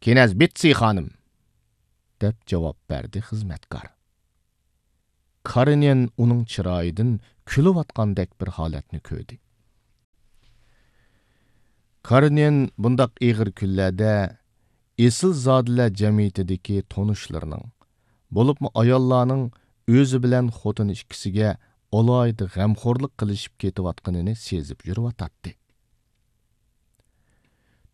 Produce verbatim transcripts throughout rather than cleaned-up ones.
كىنەز بېتسى خانىم، دەپ جاۋاب بەردى خىزمەتكار. كارېنىن ئۇنىڭ چىرايىدىن كۈلۈۋاتقاندەك بىر ھالەتنى كۆردى. كارېنىن بۇنداق ئېغىر كۈنلەردە ئېسىلزادىلەر جەمئىيىتىدىكى تونۇشلىرىنىڭ، بولۇپمۇ ئاياللارنىڭ ئۆزى بىلەن خوتۇنى ئىككىسىگە ئالاھىدە غەمخورلۇق قىلىشىپ كېتىۋاتقىنىنى سېزىپ يۈرۈۋاتاتتى.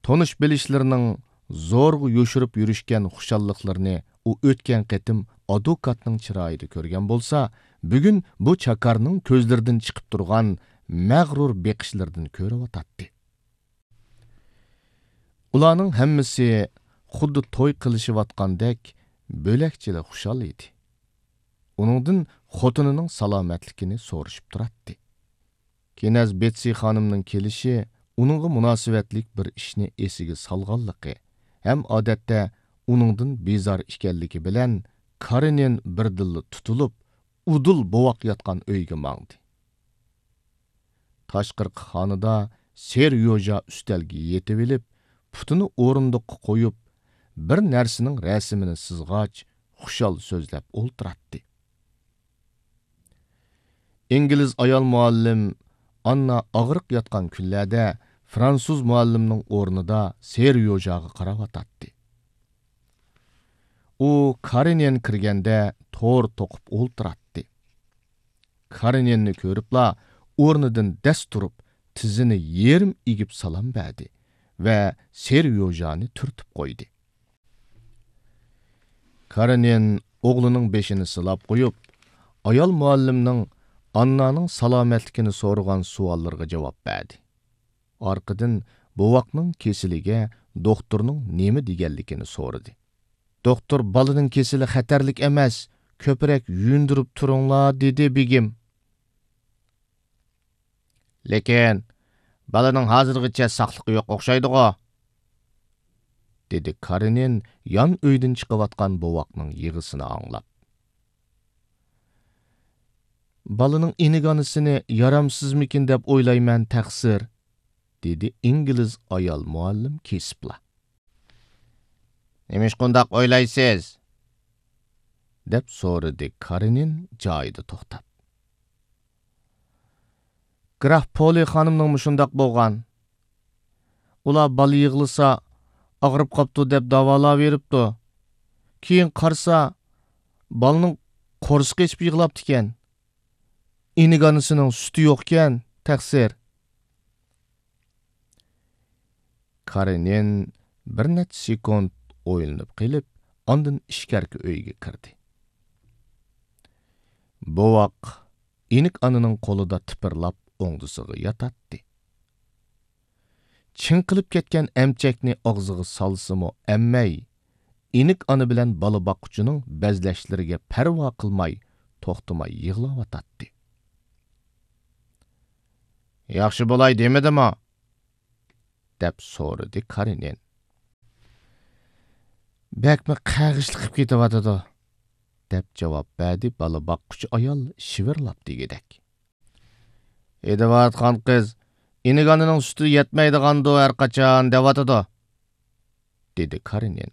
تونۇش بىلىشلىرىنىڭ زورغا يوشۇرۇپ يۈرۈشكەن خۇشاللىقلىرىنى ئۇ ئۆتكەن قېتىم ئادۋوكاتنىڭ چىرايىدا كۆرگەن بولسا، بۈگۈن بۇ چاكارنىڭ كۆزلىرىدىن چىقىپ تۇرغان مەغرۇر بېقىشلىرىدىن كۆرۈۋاتاتتى. ئۇلارنىڭ ھەممىسى خۇددى توي قىلىشىۋاتقاندەك بۆلەكچىلا خۇشال ئىدى. ئۇنىڭدىن خوتۇنىنىڭ سالامەتلىكىنى سورىشىپ تۇراتتى. كىنەز بېتسى خانىمنىڭ كېلىشى ئۇنىڭغا مۇناسىۋەتلىك بىر ئىشنى ئېسىگە سالغانلىقى ھەم ئادەتتە ئۇنىڭدىن بىزار ئىكەنلىكى بىلەن كارېنىن بىردىنلا تۇتۇلۇپ، ئۇدۇل بوۋاق ياتقان ئۆيگە ماڭدى. تاشقىرىقى خانىدا سېريوژا ئۈستەلگە يېتىۋېلىپ، پۇتىنى ئورۇندۇققا قويۇپ، بىر نەرسىنىڭ رەسىمىنى سىزغاچ، خۇشال سۆزلەپ ئولتۇراتتى. ئىنگلىز ئايال مۇئەللىم ئاننا ئاغرىق ياتقان كۈنلەردە فرانسۇز مۇئەللىمنىڭ ئورنىدا سېريوژاغا قاراۋاتاتتى. ئۇ كارېنىن كىرگەندە تور توقۇپ ئولتۇراتتى. كارېنىننى كۆرۈپلا ئورنىدىن دەس تۇرۇپ، تىزىنى يېرىم ئېگىپ سالام بەردى ۋە سېريوژانى تۈرتۈپ قويدى. كارېنىن ئوغلىنىڭ بېشىنى سىلاپ قويۇپ، ئايال مۇئەللىمنىڭ ئاننانىڭ سالامەتلىكىنى سورىغان سوئاللىرىغا جاۋاب بەردى. ئارقىدىن بوۋاقنىڭ كېسىلىگە دوختۇرنىڭ نېمە دېگەنلىكىنى سورىدى. دوختۇر بالىنىڭ كېسىلى خەتەرلىك ئەمەس، كۆپرەك يۇيۇندۇرۇپ تۇرۇڭلار، دېدى بېگىم. لېكىن بالىنىڭ ھازىرغىچە ساقلىقى يوق ئوخشايدىغۇ، دېدى كارېنىن يان ئۆيدىن چىقىۋاتقان بوۋاقنىڭ يىغىسىنى ئاڭلاپ. بالىنىڭ ئىنىك ئانىسىنى يارامسىزمىكىن دەپ ئويلايمەن، تەقسىر، دېدى ئىنگلىز ئايال مۇئەللىم كېسىپلا. نېمىشقا ئۇنداق ئويلايسىز؟ دەپ سورىدى كارېنىن جايىدا توختاپ. گراف پولى خانىمنىڭمۇ شۇنداق بولغان. ئۇلار بالا يىغلىسا، ئاغرىپ قاپتۇ دەپ داۋالاۋېرىپتۇ. كېيىن قارىسا، بالىنىڭ قورسىقى ئېچىپ يىغلاپتىكەن. ئىنىك ئانىسىنىڭ سۈتى يوقكەن، تەقسىر. كارېنىن بىر نەچچە سېكۇنت ئويلىنىپ قېلىپ، ئاندىن ئىچكەرىكى ئۆيگە كىردى. بوۋاق ئىنىك ئانىنىڭ قولىدا تىپىرلاپ ئوڭدىسىغا ياتاتتى. چىڭقىلىپ كەتكەن ئەمچەكنى ئاغزىغا سالسىمۇ ئەممەي، ئىنىك ئانا بىلەن بالا باققۇچىنىڭ بەزلەشلىرىگە پەرۋا قىلماي توختىماي يىغلاۋاتاتتى. ياخشى بولاي دېمىدىمۇ؟ دەپ سورىدى كارېنىن. بەكمۇ قەغىشلىقىپ كېتىۋاتىدۇ، دەپ جاۋاب بەردى بالا باققۇچى ئايال شىۋىرلاپ دېگۈدەك. ھېدىۋاتقان قىز، ئىنىك ئانىنىڭ سۈتى يەتمەيدىغاندۇ ھەرقاچان دەۋاتىدۇ، دېدى كارېنىن.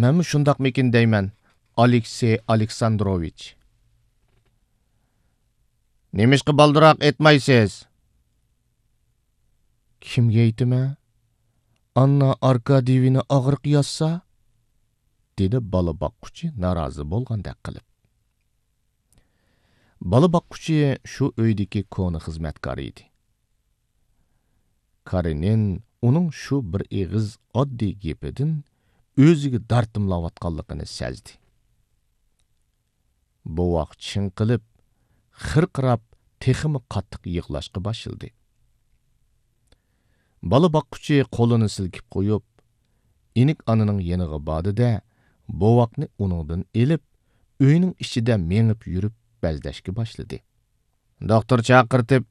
مەنمۇ شۇنداقمىكىن دەيمەن، ئالېكسېي ئالېكساندروۋىچ. نېمىشقا بالدۇراق ئېيتمايسىز؟ كىمگە ئېيتىمەن؟ ئاننا ئاركاديېۋنا ئاغرىق ياتسا؟ دېدى بالا باققۇچى نارازى بولغاندەك قىلىپ. بالا باققۇچى شۇ ئۆيدىكى كونا خىزمەتكار ئىدى. كارېنىن ئۇنىڭ شۇ بىر ئېغىز ئاددىي گېپىدىن ئۆزىگە دارتىملاۋاتقانلىقىنى سەزدى. بوۋاق چىڭقىلىپ، خىرقىراپ، تېخىمۇ قاتتىق يىغلاشقا باشلىدى. بالا باققۇچى قولىنى سىلكىپ قويۇپ، ئىنىك ئانىنىڭ يېنىغا باردى-دە، بوۋاقنى ئۇنىڭدىن ئېلىپ، ئۆينىڭ ئىچىدە مېڭىپ يۈرۈپ بەزلەشكە باشلىدى. دوختۇر چاقىرتىپ،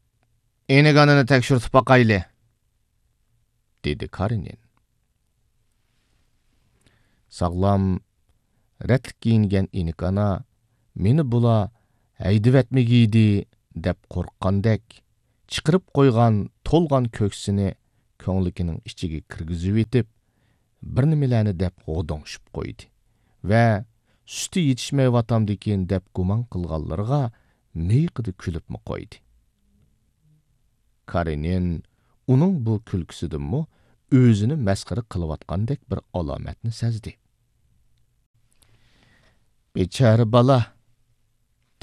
ئىنىك ئانىنى تەكشۈرتۈپ باقايلى، دېدى كارېنىن. ساغلام، رەتلىك كىيىنگەن ئىنىك ئانا، مېنى بۇلار ھەيدىۋەتمىگىيدى دەپ قورققاندەك، چىقىرىپ قويغان تولغان كۆكسىنى كۆڭلىكىنىڭ ئىچىگە كىرگۈزۈۋېتىپ، بىر نېمىلەرنى دەپ غودۇڭشىپ قويدى ۋە سۈتى يېتىشمەيۋاتامدىكىن دەپ گۇمان قىلغانلىرىغا مىيىقىدا كۈلۈپمۇ قويدى. كارېنىن ئۇنىڭ بۇ كۈلكىسىدىنمۇ ئۆزىنى مەسخىرە قىلىۋاتقاندەك بىر ئالامەتنى سەزدى. «بىچارە بالا!»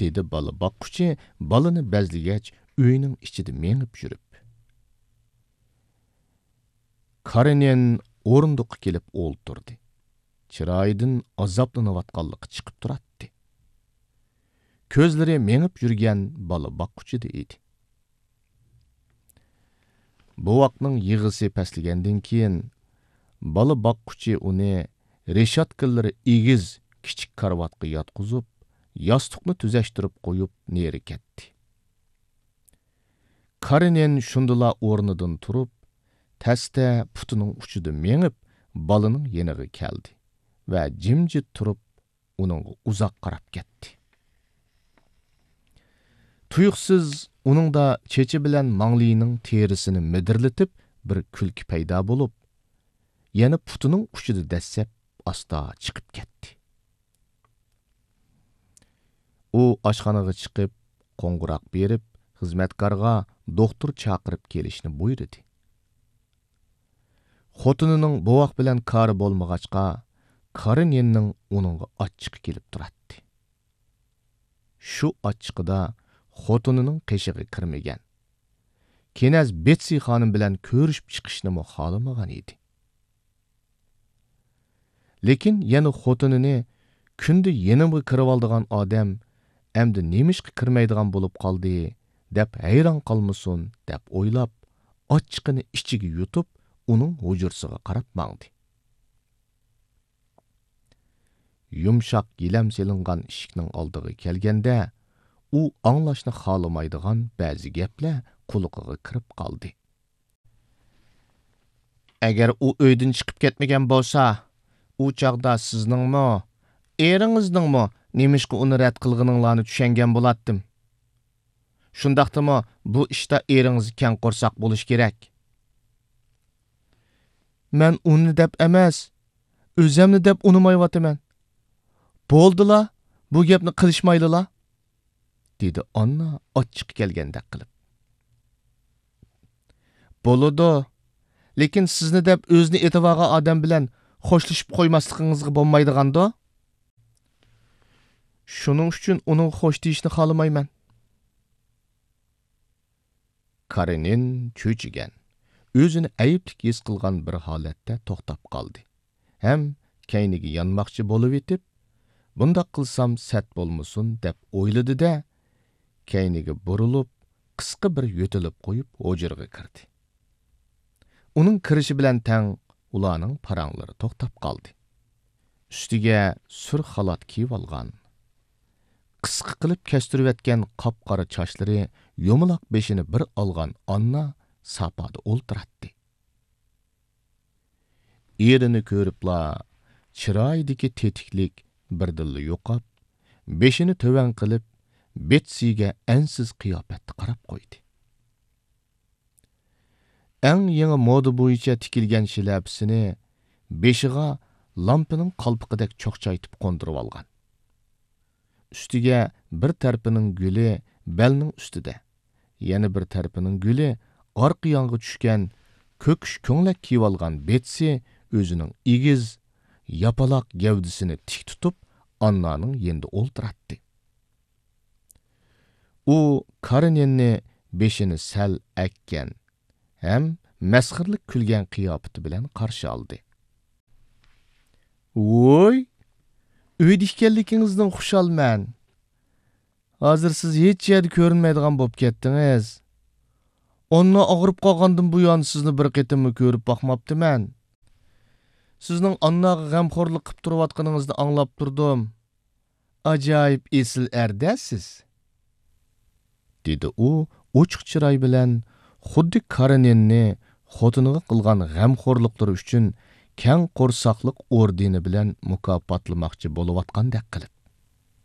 دېدى بالا باققۇچى بالىنى بەزلىگەچ ئۆينىڭ ئىچىدە مېڭىپ يۈرۈپ. كارېنىن ئورۇندۇققا كېلىپ ئولتۇردى. چىرايىدىن ئازابلىنىۋاتقانلىقى چىقىپ تۇراتتى. كۆزلىرى مېڭىپ يۈرگەن بالا باققۇچىدا ئىدى. بوۋاقنىڭ يىغىسى پەسلىگەندىن كېيىن، بالا باققۇچى ئۇنى رېشاتكىلىرى ئېگىز كىچىك كارىۋاتقا ياتقۇزۇپ، ياستۇقنى تۈزەشتۈرۈپ قويۇپ، نېرى كەتتى. كارېنىن شۇندىلا ئورنىدىن تۇرۇپ، تەستە پۇتىنىڭ ئۇچىدا مېڭىپ، بالىنىڭ يېنىغا كەلدى ۋە جىمجىت تۇرۇپ، ئۇنىڭغا ئۇزاق قاراپ كەتتى. تۇيۇقسىز ئۇنىڭدا چېچى بىلەن ماڭلىيىنىڭ تېرىسىنى مىدىرلىتىپ بىر كۈلكە پەيدا بولۇپ، يەنە پۇتىنىڭ ئۇچىدا دەسسەپ ئاستا چىقىپ كەتتى. ئۇ ئاشخانىغا چىقىپ، قوڭغۇراق بېرىپ، خىزمەتكارغا دوختۇر چاقىرىپ كېلىشنى بۇيرۇدى. خوتۇنىنىڭ بوۋاق بىلەن كارى بولمىغاچقا، كارېنىننىڭ ئۇنىڭغا ئاچچىقى كېلىپ تۇراتتى. شۇ ئاچچىقىدا خوتۇنىنىڭ قېشىغا كىرمىگەن، كېنەز بېتسى خانىم بىلەن كۆرۈشۈپ چىقىشنىمۇ خالىمىغان ئىدى. لېكىن يەنە خوتۇنىنى «كۈندە يېنىمغا كىرىۋالىدىغان ئادەم ئەمدى نېمىشقا كىرمەيدىغان بولۇپ قالدى؟» دەپ ھەيران قالمىسۇن دەپ ئويلاپ، ئاچچىقىنى ئىچىگە يۇتۇپ، ئۇنىڭ ھۇجرىسىغا قاراپ ماڭدى. يۇمشاق گىلەم سېلىنغان ئىشىكنىڭ ئالدىغا كەلگەندە، ئۇ ئاڭلاشنى خالىمايدىغان بەزى گەپلەر قۇلىقىغا كىرىپ قالدى. «ئەگەر ئۇ ئۆيدىن چىقىپ كەتمىگەن بولسا، ئۇ چاغدا سىزنىڭمۇ، ئېرىڭىزنىڭمۇ نېمىشقا ئۇنى رەت قىلغىنىڭلارنى چۈشەنگەن بولاتتىم. شۇنداقتىمۇ بۇ ئىشتا ئېرىڭىز كەڭ قورساق بولۇشى كېرەك.» «مەن ئۇنى دەپ ئەمەس، ئۆزەمنى دەپ ئۇنىمايۋاتىمەن. بولدىلا، بۇ گەپنى قىلىشمايلىلا.» دېدى ئاننا ئاچچىقى كەلگەندەك قىلىپ. «بولىدۇ، لېكىن سىزنى دەپ ئۆزىنى ئېتىۋالغان ئادەم بىلەن خوشلىشىپ قويماسلىقىڭىزغا بولمايدىغاندۇ؟ شۇنىڭ ئۈچۈن ئۇنىڭغا خوش دېيىشنى خالىمايمەن.» كارېنىن چۆچۈگەن، ئۆزىنى ئەيىبلىك ھېس قىلغان بىر ھالەتتە توختاپ قالدى ھەم كەينىگە يانماقچى بولۇۋېتىپ، «بۇنداق قىلسام سەت بولمىسۇن» دەپ ئويلىدى-دە، كەينىگە بۇرۇلۇپ، قىسقا بىر يۆتىلىپ قويۇپ، ھۇجرىغا كىردى. ئۇنىڭ كىرىشى بىلەن تەڭ ئۇلارنىڭ پاراڭلىرى توختاپ قالدى. ئۈستىگە سۈر خالات كىيىۋالغان، قىسقا قىلىپ كەستۈرۈۋەتكەن قاپقارا چاچلىرى يۇمىلاق بېشىنى بىر ئالغان ئاننا ساپادا ئولتۇراتتى. ئېرىنى كۆرۈپلا، چىرايىدىكى تېتىكلىك بىردىنلا يوقاپ، بېشىنى تۆۋەن قىلىپ، بېتسىگە ئەنسىز قىياپەتتە قاراپ قويدى. ئەڭ يېڭى مودا بويىچە تىكىلگەن شىلەپىسىنى بېشىغا لامپىنىڭ قالپىقىدەك چوقچايتىپ قوندۇرۇۋالغان. ئۈستىگە بىر تەرىپىنىڭ گۈلى بەلنىڭ ئۈستىدە، يەنە بىر تەرىپىنىڭ گۈلى ئارقا يانغا چۈشكەن كۆكۈش كۆڭلەك كىيىۋالغان بېتسى ئۆزىنىڭ ئېگىز، ياپىلاق گەۋدىسىنى تىك تۇتۇپ، ئاننانىڭ يېنىدا ئولتۇراتتى. ئۇ كارېنىننى بېشىنى سەل ئەگكەن ھەم مەسخىرىلىك كۈلگەن قىياپىتى بىلەن قارشى ئالدى. ۋوي، ئۆيدە ئىكەنلىكىڭىزدىن خۇشالمەن. ھازىر سىز ھېچ يەردە كۆرۈنمەيدىغان بولۇپ كەتتىڭىز. ئاننا ئاغرىپ قالغاندىن بۇيان سىزنى بىر قېتىممۇ كۆرۈپ باقماپتىمەن. سىزنىڭ ئانناغا غەمخورلۇق قىپ تۇرۇۋاتقىنىڭىزنى ئاڭلاپ تۇردۇم. ئاجايىپ ئېسىل ئەر-دە سىز، دېدى ئۇ ئوچۇق چىراي بىلەن، خۇددى كارېنىننى خوتۇنىغا قىلغان غەمخورلۇقلىرى ئۈچۈن كەڭ قورساقلىق ئوردېنى بىلەن مۇكاپاتلىماقچى بولۇۋاتقاندەك قىلىپ.